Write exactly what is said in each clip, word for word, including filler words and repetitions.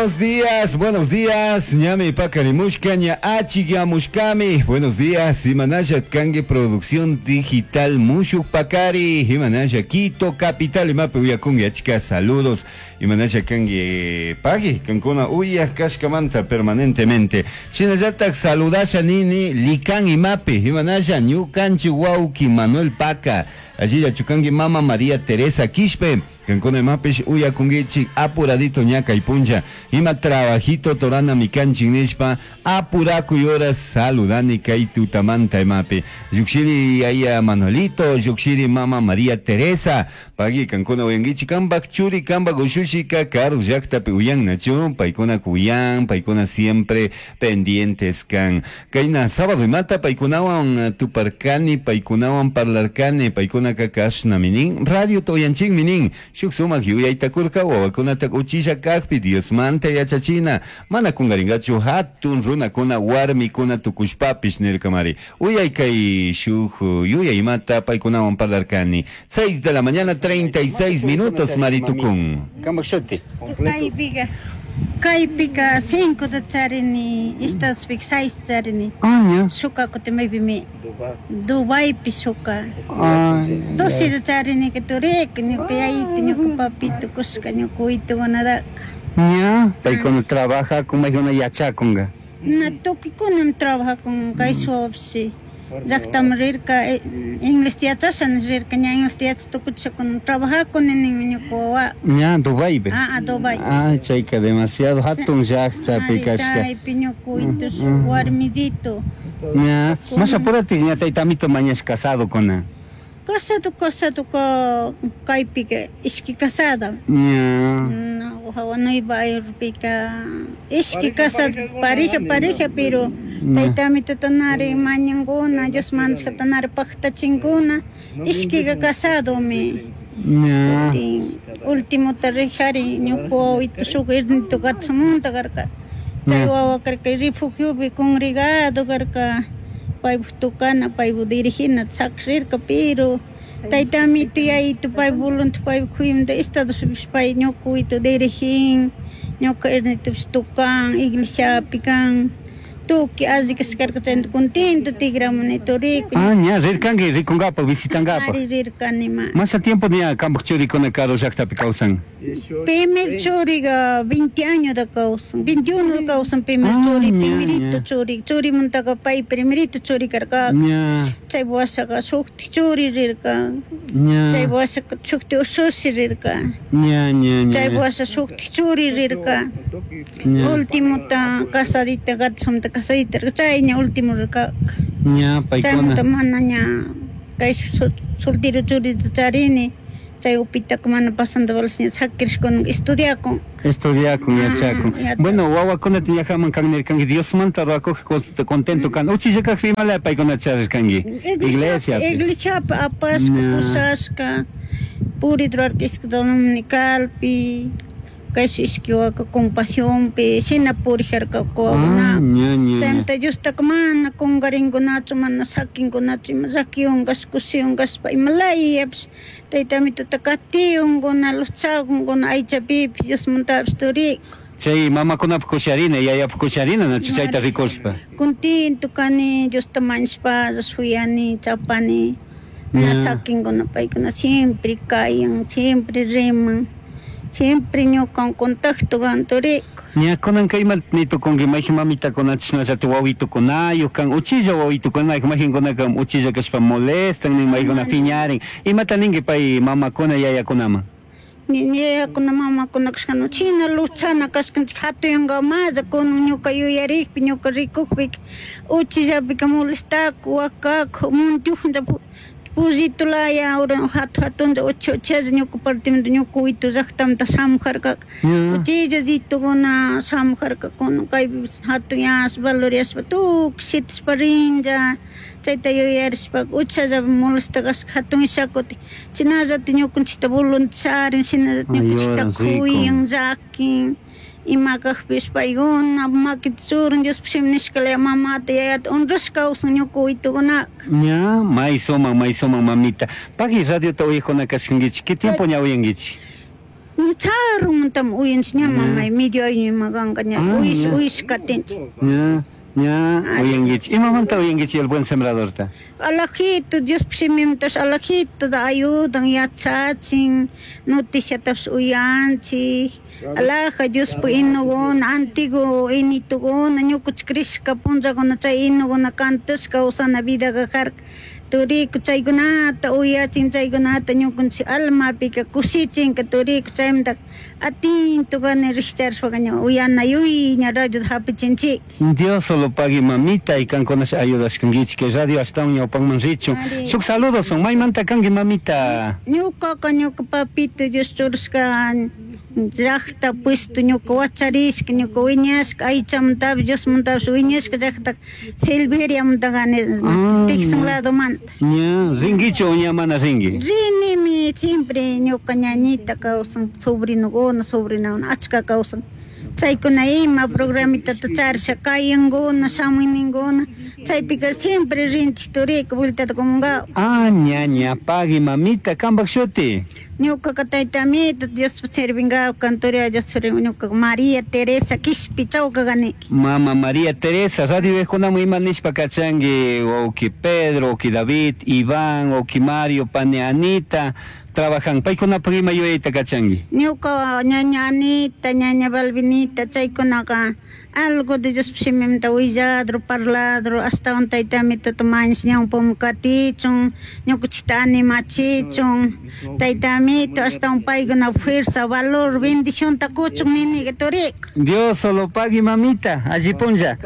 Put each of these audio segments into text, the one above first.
Buenos días, buenos días, ñami pakarimushka, ña achikyamushkami. Buenos días, imanalla kanki Producción Digital Mushuk Pakari, imanalla Quito Capital, imapi uyakunki achka saludos, imanalla kanki pagi, kankuna uyaj kashkamanta permanentemente. Shinallatak saludasha nini likan imapi, imanalla ñukanchik wawki Manuel Paca, allilla chukanki mama María Teresa Quispe, kankuna imapish uyakunkichik apuradito ña kay punlla, ima trabajito torana mikanchik nishpa apurakuy horas saludani kay tutamanta imapi. Llukshiri aya Manuelito, llukshiri mama María Teresa, pagi kankuna uyankichik kanpak churi kanpak ushushika karu llaktapi uyannachu, paykuna kuyan, paykuna siempre pendientes kan. Kayna sábado imata paykunawan tuparkani, paykunawan parlarkani, paykunaka kashnami nin, radio uyanchikmi nin, shuk sumak yuyayta kurka wawakunata uchilla kakpi Diosmanta yachachina, mana kungaringachu hatun runakuna warmikuna tukushpapish nirkamari. Uyay kay shuk yuyay imata paykunawan parlarkani. seis de la mañana treinta y seis minutos maritukun. Kanpak shuti? Kaypika, kaypika cinco da charini, Estadospika seis charini. Ah, ña. Shuka kutin maypimi Dubaipi shuka. Ay, Doce da charini que turika, ñuka yayito, ñuka papito kushka, ñuka witukunadaka. Ña, paykuna trabajakun, maykuna yachakunka. Na tukuykuna trabajakun kay suwapshi. Llaktaman rirka, inglés yachasha rirka, ña inglés yachas tukuchishakuna trabajakuni ninmi ñuka wawa. Ña, Dubaipi. Ah, ah, Dubai. Ah, chayka demasiado hatun llaktapi Ari, kashka. chaypi ñuka witus warmidito. Ña, más apurati ña taytamito mañash casado kuna. Casado, casado ka kaypika ishki casada. Ña. No, hawa Nueva Yorkpika ishki casado, pareja, pareja, pero taytamito tanari mañankuna, Dios mandashkata nari paktachinkuna, ishkika casadomi. Ña. Último rijari ñuka wawito shuk irnito katsamunta karka. Chay wawa karka refugiopi congregado karka. Paypuk tukana, paypuk dirigina sakrirka, pero taytamito yayito pay voluntad paypuk kuyamanta Estados pay ñuka wawito dirigin, ñuka irnitopish tukan, iglesiapi kan. Tukuy alli kashkarka chayta contento tigramuni turiku. Ah, ña, rirkanki rikunkapak, visitankapak. Ari rirkani ma. Masa tiempo ña kanpak churikuna karu llaktapi kawsan? Primer churiga veinte años da kawsan, veintiuno da kawsan primer Ah, churi, ña, primerito ña. churi, churimuntaka pay primerito churi karka. Ña. Chay washaka shukti churi rirka. Ña. Chay washaka shukti ushushi rirka. Ña, ña, ña. Chay washa shukti churi rirka. Ña. Último ta casadita gatsumta casadita chay ña último rirka. Ña, paykuna. Chaymanta mana ña kay soltero churi charini. Chay upitaka mana pasando balas ña sakirishkuna estudiakun. Estudiakun, yachakun. Ah, yachakun. Bueno, wawakunata ñajaman kan nirkanki, Diosmanta ruwakuq contento kan. Uchilla kaqpi imala paykuna charirkanki? Iglesiapi. Iglesiapi apashka, Ña. pushashka, purit ruwarka escuela dominicalpi, kay ishki waka compasiónpi, shina purijarka wawakuna. Ah, ña, ña, ña. Chaymanta Diostaka mana kungarinkunachu, mana sakinkunachu, ima llakiwan kashpa, kushiwan kashpa, ima layapish, taytamituta katiunkuna, luchakunkuna, aychapipish, Diosmantapish turiku. Chay mamakunapuk kusharina, yayapuk kusharina, nachu chayta rikushpa. Contento kani, Diosta mañashpa, shuyani, chapani, na Ña. sakinkuna paykuna siempre kayan, siempre riman, siempre ñukan contacto kan turiku. Ña kunanka ima nitukunki, mayjin mamitakuna chashnallata wawitukunayuk kan, uchilla wawitukunayuk, mayjinkunaka uchilla kashpa molestan, nin maykuna piñarin. Imata ninki pay mamakuna yayakunaman? Yayakuna mamakuna kashkana china luchana kashkanchik hatuyankamalla kunan ñuka yuyarikpi, ñuka rikukpika uchillapika molestaku, wakaku, muntiujuncha pullito laya, ura hatu hatuncha uchi uchilla ñuka partimanta ñuka witu llaktamanta shamujarkaka. Ña. Uchilla ritukuna shamujarkakuna kaypi hatuyashpa, valoriashpa tukuy shitashpa rinlla, chayta yuyarishpa uchalla molesta kashka hatun ishakuti chinallata ñukanchikta voluntarin, shinallata Ay, ñukanchikta yoran, rico. kuyan, llakin, ima kajpish paykuna makita churan Diospuk shimi nishkalaya mamata yayata honrashka kawsan ñuka witukunaka. Ña, may sumak, may sumak mamita. Pagui radiota uyajuna kashkankichik, ¿qué tiempo ña uyankichik? Charumantam uyanchik ña mamay medio año ima kanka ña uyish uyish katinchik. Ña, ña, uyankichik. Imamanta uyankichik El Buen Sembradorta? Alajito, Dios shimimantash alajito da ayudan yachachin, noticiatash uyanchik, alaja Diospa inuguna, antiguo inituguna, ñukuchik crishka punllakuna chay inuguna cantashka kawsana vidaqa karka. Turiku chaykunata uyachin chaykunata ñukunchik almapika kushichinka turiku chaymanta atento kani rikcharishpaka ña uyanayuy ña radiota hapichinchik. Dios solo pague mamita y kankunash ayudashkankichik que radio ashtawan ñawpakman richun. Shuk saludos son maymanta kanki mamita. Ñukaka ñuka papito Dios churashka llaqta puesto ñuka wacharishka ñuka wiñashka aychamantapish Diosmantapish wiñashka llaqta Silveriamanta kani Texas ladomanta. Ña, rinkichu o ña mana rinki? Rinimi siempre ñuka ñañita kawsan sobrinokuna sobrinakuna achka kawsan. Chaykuna ima programitata charisha kayankuna shamuyninkuna chaypika siempre rinchik turika vueltata comungaw. Ah, ña, ña, pagui mamita, kampak shuti. Ñukaka tayta amito Diospa sirvingaw cantoria Dios sirvin ñukaka María Teresa Quishpi chawka kani. Mama María Teresa, radio viejunaman ima nishpa kachanki wawki Pedro, wawki David, Iván, wawki Mario, pani Anita, trabajan paykunapak ima yuyayta kachanki. Ñuka ñaña Anita, ñaña Balvinita, chaykunaka algo de Dios shimimanta willadro, parladro, ashtawan tayta amituta mañash ñawpaman katichun, ñukanchikta animachichun, tayta amito ashtawan paykuna fuerza, valor, bendicionta kuchun niniqa turika. Dios solo pagui mamita, alli punlla.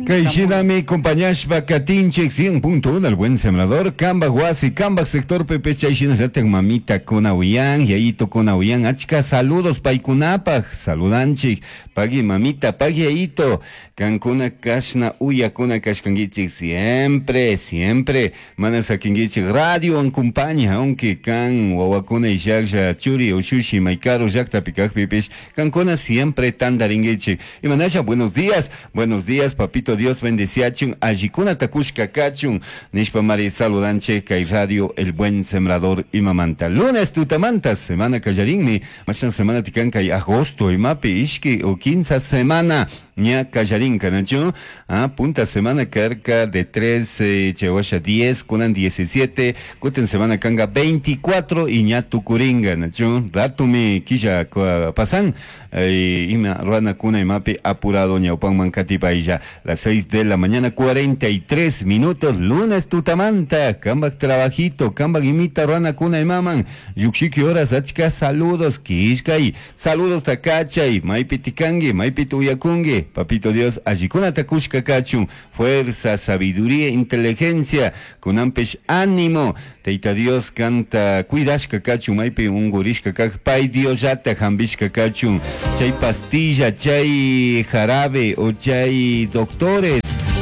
Kay shinami compañashpa katinchik cien punto uno El Buen Sembrador, Kambak wasi, Kambak sector Pepe chay shinallatak mamita kuna uyan, yayito kuna uyan, achka saludos paykunapaj, saludanchik, pagui mamita, pagui yayito, kankuna kashna uyakuna kashkankichik siempre, siempre, mana sakinkichik radio acompaña, aunque kan wawakuna ishaklla churi ushushi maykaru llaktapi kajpipish, kankuna siempre tandarinkichik. Imanasha, buenos días, buenos días, papito Dios bendeciachun, allikuna takushka kachun, nishpa mari saludanche kay radio El Buen Sembrador imamanta. Lunes tutamanta, semana kallarinmi, mashan semana tikan kay agosto imapi ishki o quince semana ña kallarinka, ¿no? Ah, punta semana carca de tres, eh, chewasha diez, kunan diecisiete, kuten semana kanga veinticuatro y ña tukuringa, ¿no? Ratumi quilla pasan, eh, ima ruana kuna imapi apurado ñawpanman katipaylla, las seis de la mañana cuarenta y tres minutos, lunes tutamanta, kambak trabajito, kambak imita ruana kuna imaman, yukshiki horas achka saludos, kishkay, saludos takachay, maypi tikangi, maypi tuyakungi, papito Dios, allikuna takushka kachun, fuerza, sabiduría, inteligencia, kunampesh ánimo, Teita Dios canta, cuidashka kachun, maypi ungurishka kak, pay Dios yata jambishka kachun, chay pastilla, chay jarabe, o chay doctores,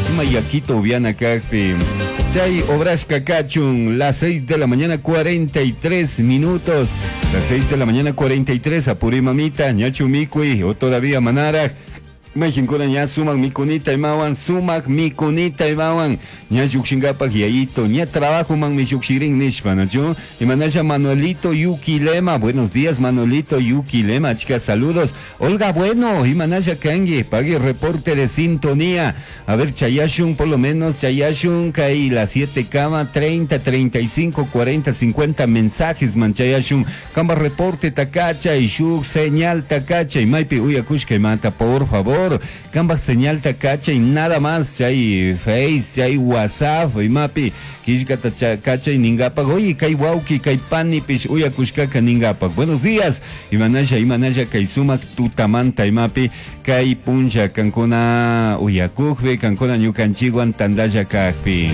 ima yakito ubiana kakpi, chay obrashka kachun, las seis de la mañana cuarenta y tres minutos, las seis de la mañana cuarenta y tres, apuri mamita, ñachu mikui, o todavía manaraj, Mexincuna ña sumak mikunita imawan, sumak mikunita imawan, ña yukshingapak yayito, ña trabajo man mi yukshirin nishpa, ¿no? Imanasha Manuelito Yuquilema, buenos días Manuelito Yuquilema, chicas, saludos. Olga Bueno, Imanasha Kangi, pague reporte de sintonía. A ver, Chayashun, por lo menos, Chayashun, caí las siete cama, treinta, treinta y cinco, cuarenta, cincuenta mensajes, man Chayashun, Kamba reporte takacha, y shuk, señal takacha, y maipi uyakushka y mata, por favor. Kamba señal takacha y nada más, chay Face, chay WhatsApp, y mapi, kishkata kacha y ningapak, oye, kay wauki, kay panipish, uyakushkaka ningapak. Buenos días, imanasha, imanasha, kay sumak tutamanta, imapi, kay puncha, kankuna uyakujbe, kankuna ñukanchiguan tandaya kajpi.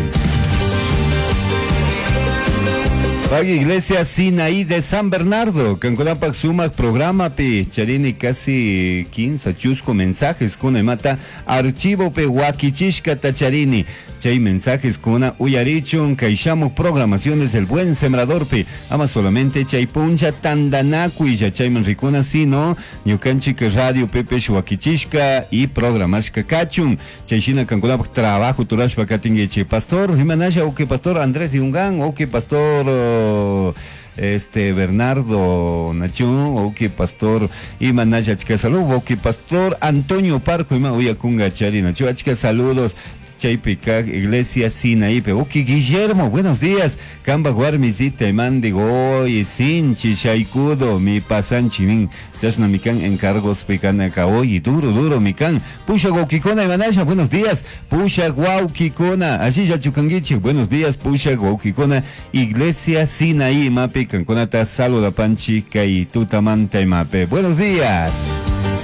Pag Iglesia Sinaí de San Bernardo, Canconapac Sumac programa pi, charini casi quince chusco mensajes con mata archivo pe huaquichishka tacharini, chay mensajes con uyarichun, kaishamu programaciones del Buen Sembrador pi, ama solamente chay puncha tandanaku y ya chay manricuna sino, ñukanchik radio pepe huaquichishka y programashka kachun, chayshina Canconapac trabajo turashpa katingueche, pastor, imanasha, oke pastor Andrés Yungán, oke pastor Este Bernardo Nachun, wauki pastor imanalla achka salud, wauki pastor Antonio Parco ima uyakunga chari nachu achka saludos chaypi kak iglesia Sinaípe. Wauki Guillermo, buenos días. Kamba warmisita imandi hoy sinchi shaykudo mi pasanchi nin chashna mikan encargos pikanaka hoy duro duro mikan. Pusha wawkikuna imanasha, buenos días. Pusha wawkikuna, allilla chukanguichi, buenos días pusha wawkikuna iglesia Sinaí imapi kankunata saludapanchi kay tutamanta imape. Buenos días.